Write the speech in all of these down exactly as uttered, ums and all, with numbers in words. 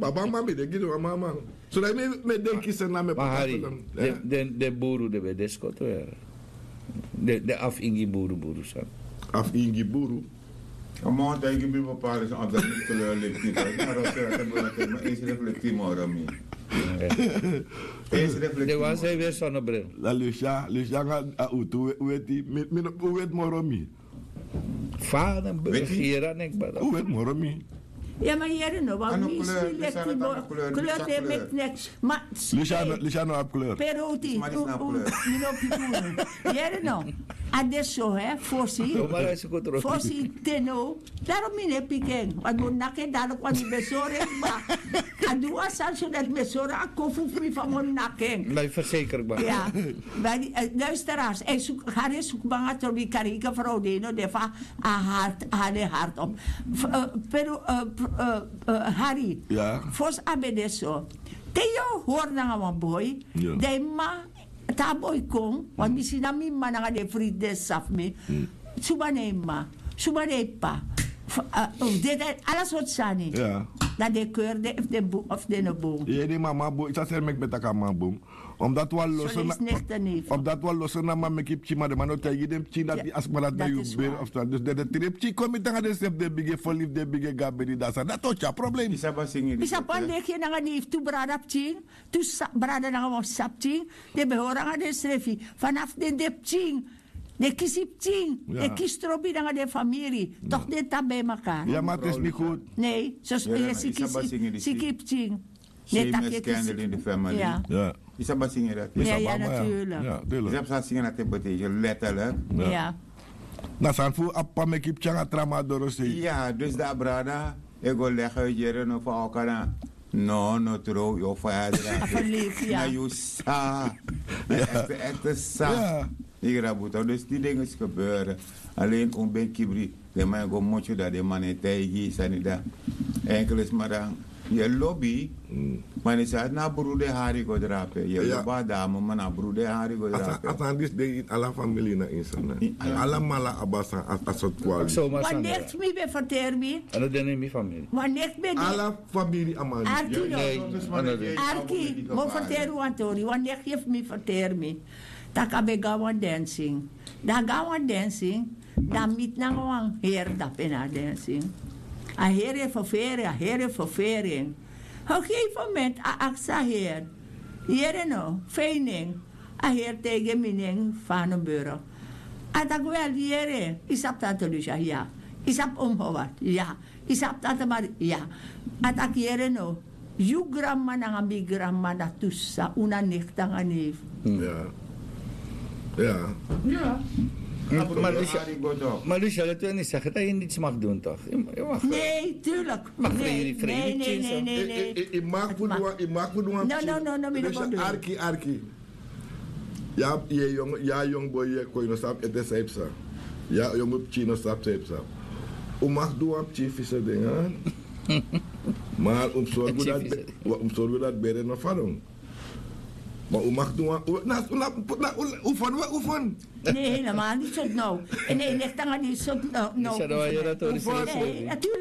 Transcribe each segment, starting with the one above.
Papa man mi de gini wan mama. So dat mi mi denki se na mi papa. Den buru de be de skoto ya. Den afingi buru buru san. Afingi buru. A man taigi mi papa is an dat mi kleur leki. Esi reflekti moro mi. Esi reflekti. De wan sei weer sonnebril. La lucia lucia nga a utu weti mi mi no wet moro mi. Fa den bere gera nek bada. U wet moro mi. Ya ma yere no wan mi si leki mo kleur te mek nek. Ma luciano luciano abi kleur. Peroti. Mi no piku unu. Yere no. A de so he fosi. Fosi teno. Daro mi ne piken wan mo naken daro kwan mi besore ba. A du wan sani so dati mi e sori a kofu fu mi fa mi o naki en. Na yu verseker kba. Ya. Luisteraars, hari e suku banga trobi kariki frow de no de fa a hart a hali hart op. Pero hari, fosi a ben de so te yu o hori nanga wan boi, dan yu mma te a boi kon, want mi si na mi mma nanga den fridi den safu mi. Suma na en mma, suma na en ppa. Of den ala sortu sani. Dan den keur den efu den bun of den no bun. Yere den mama bun yu sa seri meki ben taki a man bun. Omdat wan loso na omdat wan loso na man meki pikin ma den man no taigi den pikin dati a sma dati na yu beri of sani dus den den tiri pikin kon miti nanga den srefi den bigi e fo libi den bigi e go a bedi dan sani dati o tyari problem. Yu sabi wan leki nanga den yu fu tu brada pikin, tu brada nanga wan sisa pikin. Den ben hori nanga den srefi. Fanafu den de pikin, den kisi pikin, den kisi trobi nanga den famiri. Tok' den tan ben maka. Ya ma tesi ni gud. Nei sosi yu e siki pikin. Ne taki yu e kisi pikin. Yu sabi a singi dati? Ya naturlik. Yu sabi san a singi dati e betekeni letterlik? Na sani fu a p'pa meki pikin nanga tra man a dorosei. Ya dus dan a brada e go legi yu yere no fu a o kana. No no trow yu o faya drape. Na yu sa. Ekte ekte sa. Yu grabu tok dus di dingi si gebere. Alen un ben kibri. Den man e go motyu dan den man e taigi yu sani dan. Enkele sma dan yu e lobi. Ma den sani na a bru den hari go drape yu e lobi a dame ma na a bru den hari go drape. A sani disi de ini ala famili na ini sani. Ala mala abi a sani a sortu kwali. Wan nekti mi ben ferteri mi. A no de na ini mi famili. Wan nekti ben de. Ala famili a man disi. Arki no. Arki mi o ferteri wan tori wan nekti fu mi ferteri mi. Tak' a ben go na wan dancing. Dan a go na wan dancing. Dan a miti nanga wan heri dape na a dancing. A heri e ferferi a heri e ferferi en. Op gegeven moment a aksi a heri, yere no fa en nen? A heri taigi en mi nen. Fa a no bere. A taki wel yere yu sabi tante lucia ya. Yu sabi omi howard ya. Yu sabi tante mari ya. A taki yere no. Yu granmama nanga mi granmama na tu sisa un na nekti nanga nefi. Ya. Ya. Ma lucia leti wan ini saki dan yu niti smak dun tok? Nei turlik. Nei nei nei nei. Yu mak fu du wan yu mak fu du wan pikin. Arki arki. Ya yu e yongu boi yu e kon yu no sabi ete san yu psa. Ya yongu pikin no sabi san yu psa. Un mak du wan pikin fise den. Mar un mus sorgu dati bere no fadon. Ma un mak du wan na un na un fon we un fon. Ne helemaal ni sot no. En ne lek tanga ni sot no. Natuurlijk.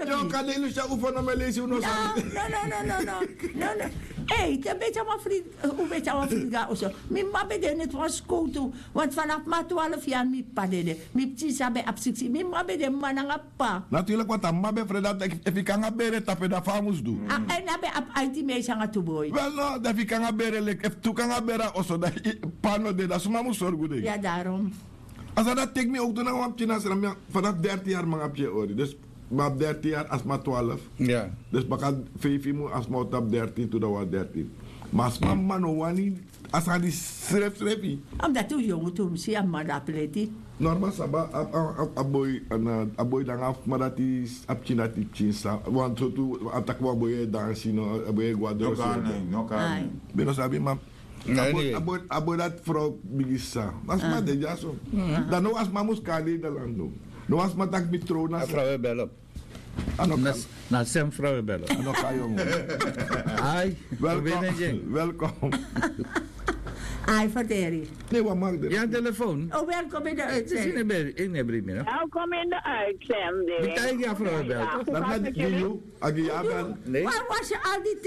Yo kan de ilusha un fon no me lesi un no sa. No no no no no no no. Ei te beti a wan fri un beti a wan fri ga oso. Mi mma ben de net wan skotu. Want vanaf ma twaalf yari mi ppa dede. Mi pikin sa ben abi siksi mi mma ben de mma nanga ppa. Naturlik want a mma ben frede dati efu yu kan nanga bere tapu en dan fa a mus du. A en na ben abi aiti meisi nanga tu boi. Wel no dan efu yu kan nanga bere leki efu tu kan nanga bere a oso dan ppa no de dan suma mus sorgu de. Ya darom. A sani dati teki mi owtu nanga wan pikin na srami. Vanaf dertin yari mi nanga pikin e hori dus mi abi dertin yari a sma twaalf. Dus baka feifi mun a sma o tapu dertin tu dan wan dertin. Ma a sma mma no wani a sani di srefi srefi. Omdat un yongu tu mi si a mma de a pleti. Normal saba a boi a boi nanga a sma dati a pikin dati pikin sa wan sortu a taki wan boi e dansi no a boi e go a dorosei. Mi no sabi ma a boi dati frow bigi sisa. Ma sma de dyaso. Dan no wan sma mus kari nederland no. No wan sma taki mi trow na sma. A no kan. Na sem frow e belo. A no kan yongu. Ai. Welkom. Welkom. Ai ferteri. Ne wan mak de. Ya telefoon. O welkom in de uitzending. Welkom in de uitzending. Bitaigi a frow e belo. Dat na di yu agi ya bel. Waar was je al die